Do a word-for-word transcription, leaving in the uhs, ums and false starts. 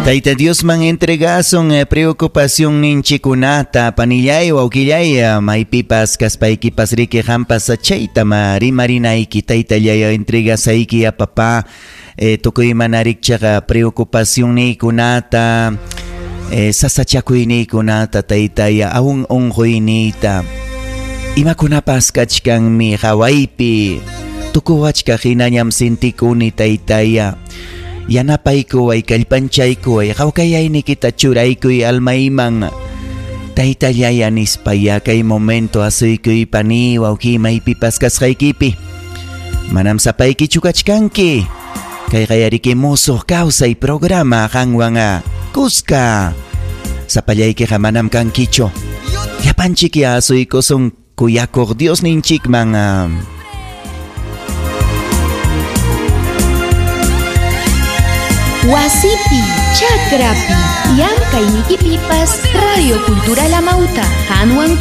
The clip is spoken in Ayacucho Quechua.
Tayta Diosman entregasun eh, preocupación ninchikunata panillay wawqillay eh, maypipas kaspaykipas riki qampas chayta rimarinayki taytallay entregasayki a papá eh, tukuy mana rikchaqa preocupación niykunata eh, sasachakuyniykunata taytaya aun unquyniyta imakunapas kachkanmi hawaypi tukuwachkaq hinañam sintikuni taytaya yanapaykuway kallpanchaykuway hawkayaynikita churaykuy almayman taytallaya nispaya kay momento asuykuy pani wawqi maypipas kasqaykipi manam sapaykichu kachkanki kayqa yariki musuq kawsay programa qanwan kuska sapallaykiqa manam kankichu llapanchik asuykusun kuyakuq Diosninchikman. Wasipi, Chakrapi, Llamkaynikipipas, Radio Cultural Amauta, Hanwan